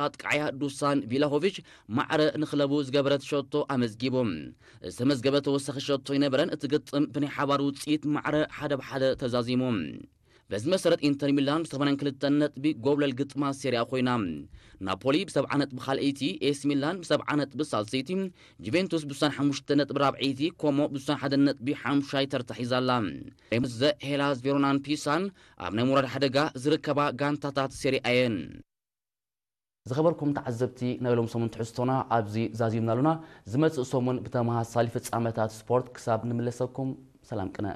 ኣጥቃዕያ ዱሳን ቪላሆቪች ማዕረ ንክለቡ ዝገበረት ሸቶ ኣመዝጊቡ። ዝተመዝገበ ተወሳኺ ሸቶ ኣይነበረን። እቲ ግጥም ብናይ ሓባር ውፅኢት ማዕረ ሓደ ብ ሓደ ተዛዚሙ። በዚ መሰረት ኢንተር ሚላን ብ82 ነጥቢ ጎብለል ግጥማ ሴሪኣ ኮይና። ናፖሊ ብ70 ነጥቢ ካልኣይቲ፣ ኤሲ ሚላን ብ70 ነጥቢ ሳልሰይቲ፣ ጁቬንቱስ ብ65 ነጥቢ ራብዐይቲ፣ ኮሞ ብ61 ነጥቢ ሓሙሻይ ተርታ ሒዛ ኣላ። ሬምስ፣ ሄላስ ቬሮናን ፒሳን ኣብ ናይ ምውራድ ሓደጋ ዝርከባ ጋንታታት ሴሪኣ እየን። ዝኸበርኩም ተዓዘብቲ፣ ናይ ሎም ሰሙን ትሕዝቶና ኣብዚ ዛዚምና ኣሉና። ዝመጽእ ሰሙን ብተመሳሳሊ ፍጻመታት ስፖርት ክሳብ ንምለሰኩም፣ ሰላም ቅነ።